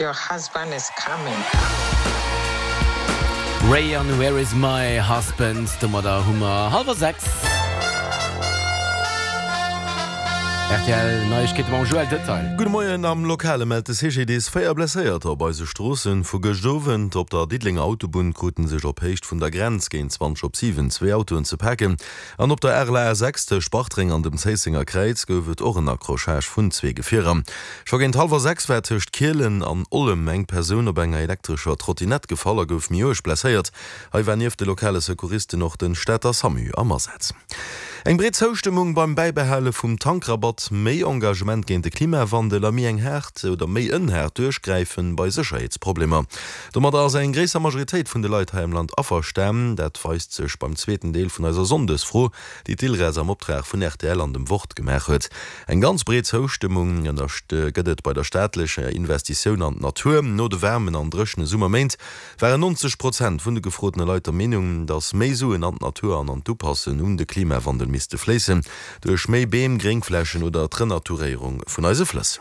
Your husband is coming. Ray an Where is my husband? Domadder hu mer hallwer 6. Rtl Neiegkeete mam Joël Detail. Gudde Moien, Am Lokale mellt de CGDIS 4 Blesséierter op eise Stroossen. Vu gëscht Owend op der Diddelenger Autobunn krute sech op Héicht vun der Grenz géint 20 op 7 zwee Autoen ze paken. An op der RLA 6 tëscht Bartreng an dem Zéissenger Kräiz gouf et och en Accrochage vun zwee Gefierer. Scho géint hallwer 6 war tëscht Kielen an Ollem eng Persoun op enger elektrescher Trottinett gefall a gouf méi uerg blesséiert. Hei war nieft de lokale Secouristen och de Stater Samu am Asaz. Eng breet Zoustëmmung beim Bäibehale vum Tankrabatt, méi Engagement géint de Klimawandel a méi eng haart oder méi en haart Duerchgräife bei Sécherheetsproblemer. Domadder ass eng gréisser Majoritéit vun de Leit hei am Land averstan. Dat weist sech beim zweeten Deel vun eiser Sonndesfro, déi d'ILRES am Optrag vun rtl an dem Wort gemaach huet. Eng ganz breet Zoustëmmung gëtt et bei der staatlecher Investitioun an d'Natur. No de waarmen an dréchene Summerméint waren 90 Prozent vun de gefrotene Leit der Meenung, datt méi Suen an d'Natur an an d'Upassen un de Klimawandel misste fléissen, duerch méi Beem, Gréngflächen oder d'Renaturéierung vun eise Flëss.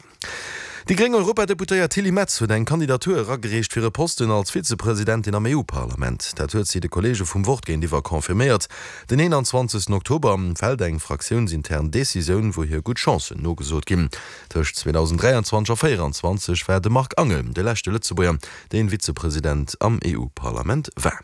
Déi gréng Europadeputéiert Tilly Metz huet eng Kandidatur eragereecht fir e Posten als Vizepresidentin am EU-Parlament. Dat huet si de Kolleege vum Wort géintiwwer confirméiert. Den 21 Oktober fält eng fraktiounsintern Decisioun, wou hir gutt Chancen nogesot ginn. Tëscht 2023 a 2024 war de Marc Angel de leschte Lëtzebuerger, deen Vizepresident am EU-Parlament war.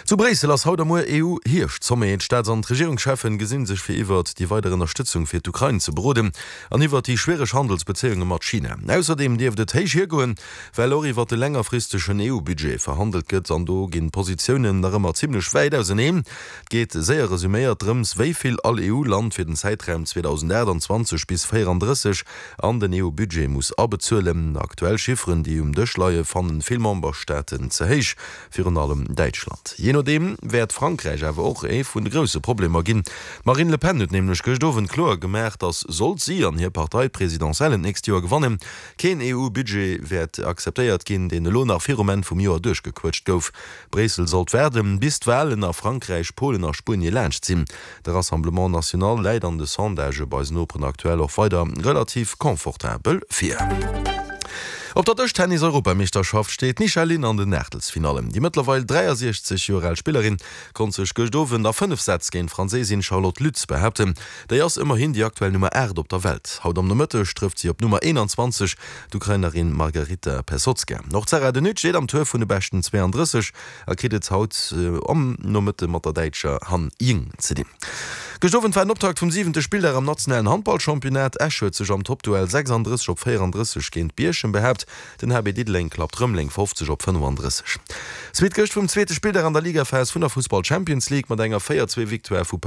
Zu Bréissel ass haut a muer EU-Hierscht-Sommet. D'Staats an d'Regierungscheffen gesinn sech fir iwwert déi weider Ënnerstëtzung fir d'Ukrain ze beroden an iwwert déi schwiereg Handelsbezéiunge mat China. Ausserdeem dierft et héich hiergoen, well och iwwert de längerfristegen EU-Budget verhandelt gëtt an do ginn d'Positiounen nach ëmmer zimmlech wäit auseneen. Et geet, séier resuméiert, drëms, wéi vill all EU-Land fir den Zäitraum 2028 bis 34 an den EU-Budget muss abezuelen. Aktuell Chifferen, déi um Dësch leie, fannen vill Memberstaaten ze héich. Virun allem Däitschland. Jee nodeem wäert Frankräich awer och ee vun de grousse Problemer ginn. D'Marine Le Pen huet nämlech gëscht Owend kloer gemaach, datt, sollt si an hir Partei d'Presidentiellen d'nächst Joer gewannen, keen EU-Budget wäert akzeptéiert ginn, deen elo nach virum Enn vum Joer duerchgequëtscht gouf. Bréissel sollt waarden, bis d'Walen a Frankräich, Polen a Spuenie laanscht sinn. De Rassemblement National läit an de Sondagë bei eisen Noperen aktuell och weider relativ confortabel vir. Op der Dëschtennis-Europameeschterschaft steet d'Nisha Lin an den Aachtelsfinallen. Déi mëttlerweil 63 Joer al Spillerin konnt sech gëscht Owend a 5 Sätz géint d'Franséisin Charlotte Lutz behaapten. Déi ass ëmmerhin déi aktuell Nummer 8 op der Welt. Haut am Nomëtteg trëfft si op d'Nummer 21, d'Ukrainerin Margaryta Pesotska. Och d'Sarah De Nutte steet am Tour vun de beschten 32. A kritt et haut am Nomëtte mat der Däitscher Han Ying ze dinn. Gëscht Owend war den Optakt vum siwente Spilldag am nationalen Handballchampionnat. Esch huet sech am Toppduell 36 op 34 géint Bierchem behaapt. Den HB Diddeleng klappt Rëmeleng 50 op 35. Suite gëscht vum zweete Spilldag an der Ligaphas vun der Fussball Champions League mat enger 4, 2 Victoire vu.